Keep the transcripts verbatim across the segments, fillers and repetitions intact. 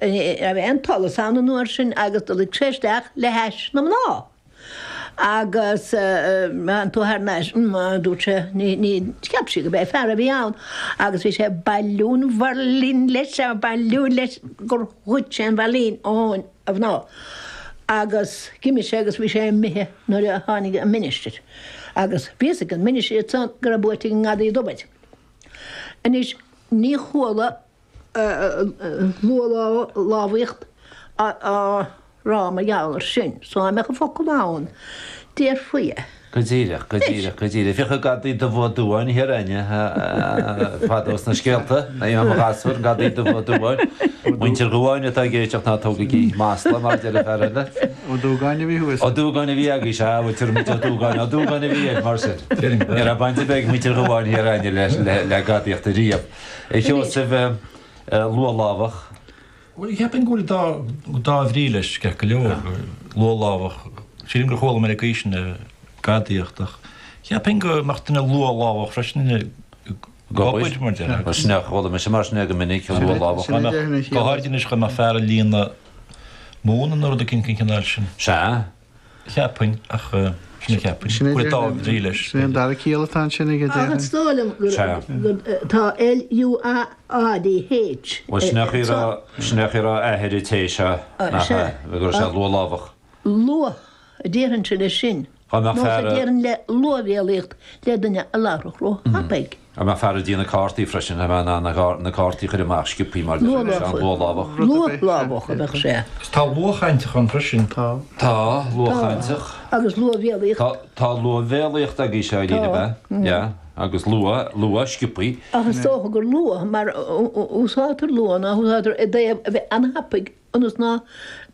Raibh aon tsolas ann an uair sin agus do luigh sé isteach le hais na mná. Agus an tú thar n-ais, a dúirt sé, ní, ní, cheap sí go b'é fear a bhí ann agus bhí sé ag bailiú an mheirlín leis, ag bailiú leis gur ghoid sé an mheirlín ón mhná. Agus d'imigh sé agus bhí sé imithe nuair a tháinig an ministir. Agus bhí fhios ag an ministir ansan go raibh buaite ag an ngadaí dubh. Anois, ní chuala luathlámhaíocht á rá mar gheall air sin, so dá mbeadh an focal ann, déarfaí é. Go díreach, go díreach, go díreach. Bhíodh an gadaí dubh Ó Dubháin thiar againne fadó sna scéalta, i mo ghasúr, an gadaí dubh Ó Dubháin. Muintir Dhubháin atá ag éisteacht ná tógaigí masla mar a deir an fear eile. Ó Dúgáin a bhí thuas. Ó Dúgáin a bhí agaibh, sea, bhfuil muintir Ó Dúgáin, Ó Dúgáin a bhí air, mar sin. Ní raibh baint ar bith ag muintir Dhubháin thiar againne le gadaíocht ariamh. A Sheosaimh, luathlámhach. Bhuel, cheapfainn go bhfuil dá, dá bhrí leis, ceart go leor, luathlámhach. Sílim gur chuala mé ag aois na gadaíocht ach cheapfainn go mbeadh duine luathlámhach freisin ag obair, mar déarfá. Bhuel, sin é, chuala mise mar sin é go minic, luathlámhach. Dá mbeadh, go háirid anois, dá mbeadh fear ag líonadh móna nó rud eicínt den chineál sin. Sea. Cheapfainn, ach sin a cheapfainn. Sin é Go bhfuil dá bhrí leis. Sin é an dara ciall atá ansin aige, Ach déarfainn. is dóigh liom gur Sea. gur tá L U A A D H Bhuel, sin é a raibh, sin é a raibh athair an té seo, nach Sea. ea, go raibh sé luathlámhach. Luath a déarfainnse leis sin. Dá mbeadh Nós a fear a. déarfainn le luathbhéalaíocht le duine a labharfadh ró-thapaidh. Dá mbeadh fear ag déanamh cártaí freisin, dá mbeadh in ann na cártaí a chur amach sciobthaí mar Luathlámhach. luathlámhach. Luathlámhach a bheadh sé. Agus tá luathchainteach ann freisin. Tá. Tá, Tá. luathchainteach. Agus luathbhéalaíocht. Tá, tá luathbhéalaíocht agaibhse, a Eileen, ab Tá. ea? Yeah. Agus luath, luath, sciobthaí. Ach is dócha gur luath, mar úsáidtear luath ná úsáidtear i dtaobh a bheith an-thapaidh ionas ná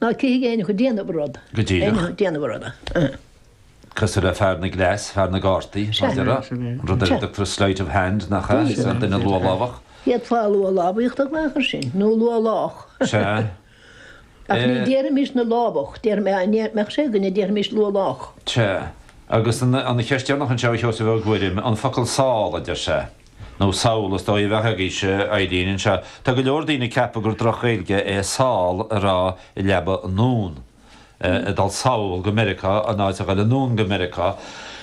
ná cífidh éinne ag déanamh rud. Go díreach. Éinne ag déanamh ruda. Cosúil le fear na gcleas, fear na gcártaí, mar a déarfá. An rud ar a dtugtar sleight of hand, nach ea? Is an duine luathlámhach. D'fhéadfá luathlámhaíocht a ghlaoch air sin, nó luathlách. Sea. Ach ní déarfaimis na lámhach, déarfaidh mé, mbeadh sé againne, déarfaimis luathlách. Sea. Agus an cheist dheireanach anseo, a Sheosaimh Ó Guairim, an focal sál, a deir sé, nó sall is dóigh a bheadh agaibhse, Eileen, anseo. Tá go leor daoine ag ceapadh gur droch-Ghaeilge é sál a rá i leaba anonn. Ag dul sall go Meiriceá in áit a ghoil anonn go Meiriceá.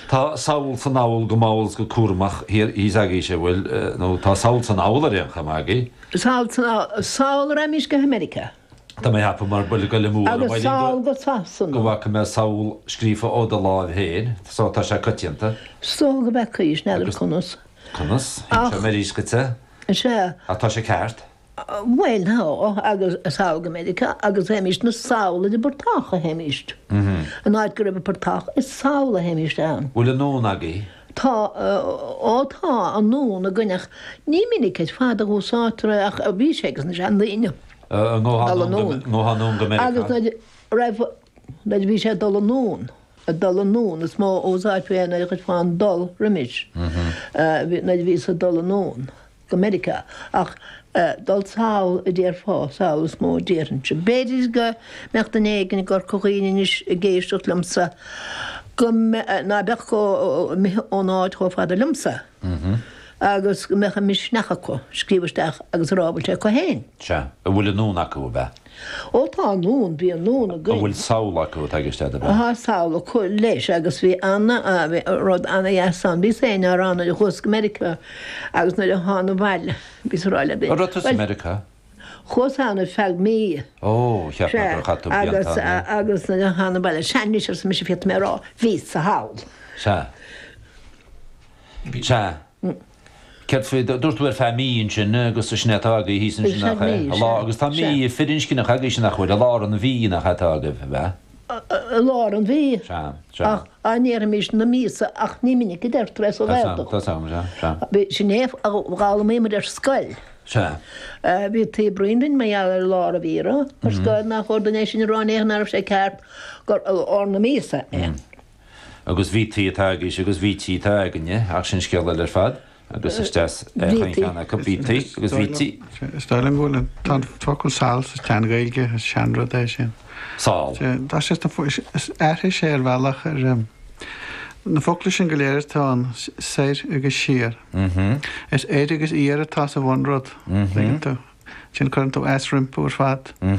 Tá sall 's anall go mall 's go cúramach thiar thíos agaibhse, bhfuil, nó tá sall 's anall ar aon chuma agaibh. Sall 's anall, sall a raghaimís go hAmerica. Tá mé ag ceapadh mar bhfuil goil amú orm, Agus sall Eileen, go go Sasana. bhfaca mé sall scríofa ó do láimh féin, so tá sé coitianta. Is dócha go bhfeacaís, n'fheadar Agus conas. conas? Ach. Inseoidh mé arís dhuit é. Sea. Ach tá sé ceart. Bhuel, tá, agus sall go Meiriceá, agus théimíst 'na sall ar an bportach a théimíst. An áit go raibh an portach, is sall a théimíst ann. Bhfuil anonn agaibh? Tá, ó tá anonn againn ach ní minic ar fad a úsáidtear é ach bhí sé ages na seandaoine. An Dul anonn. ngabhfá anonn go Meiriceá? Agus nuair a raibh, nuair a bhí sé ag dul anonn, ag dul anonn, is mó a úsáidfí é nuair a chuirfeá an dul roimis, nuair a bhíos ag dul anonn. Go Meiriceá, ach dul sall a déarfá, sall is mó a déarfainnse. B'fhéidir go mbeadh duine éigin i gCorca Dhuibhne anois ag éisteacht liomsa go ná beadh chomh imithe ón áit chomh fada liomsa agus go mbeadh an misneach acu scríobh isteach agus a rá an bhfuil sé acu féin. Sea. An bhfuil anonn acu, ab ea? Ó tá anonn, bhí anonn An againn. bhfuil sall acu atá i gceist agat, ab ea? Tá sall acu leis agus bhí ana, bhí rud ana-dheas ann. Bhíos féin á rá nuair a chuas go Meiriceá agus nuair a thána abhaile, bhíos a rá le An raibh tusa i bhuel, Meiriceá? Chuas ann ar feadh mí. Ó, cheap mé Sea, gur chaith tú agus, blianta ann. agus nuair a thána abhaile, sea anois arsa mise féadfaidh mé a rá, bhíos-sa thall. Sea. Sea. Céard faoi, dúirt tú ar feadh mí ansin agus sin é atá agaibh thíos ansin Ar nach feadh ea? mí, I sea. lár, agus tá mí Sea. firinscneach agaibhse nach bhfuil? I lár an mhí nach ea atá agaibh, ab ea? I lár an mhí. Sea, sea. Ach á ndéarfaimis na míosa ach ní minic a deirtear é sa Tá 's a'm, Ghaeltacht. tá 's a'm, sea, sea. Bhí, sin é a d'fhoghlaimigh muid ar scoil. Sea. Bhí taobh linn mar gheall ar lár an mhíre ar scoil nach chóir dúinn é sin a rá in aon chor nach raibh sé ceart gur i lár na míosa é. Agus bhítí atá agaibhse agus bhítí atá againne, ach sin scéal eile ar fad. Agus is deas é chaon cheann acu, bhítí agus bhítí. Is dóigh liom go bhfuil an, tá an focal sall sa tSean-Ghaeilge, is seanrud é sin. Sall. Tá sé sna, is aithris é ar bhealach ar na focla sin go léir atá ann, soir agus siar. Is oir agus iar atá sa bhunrud, tuigeann tú. Sin cuireann tú S rompu ar fad.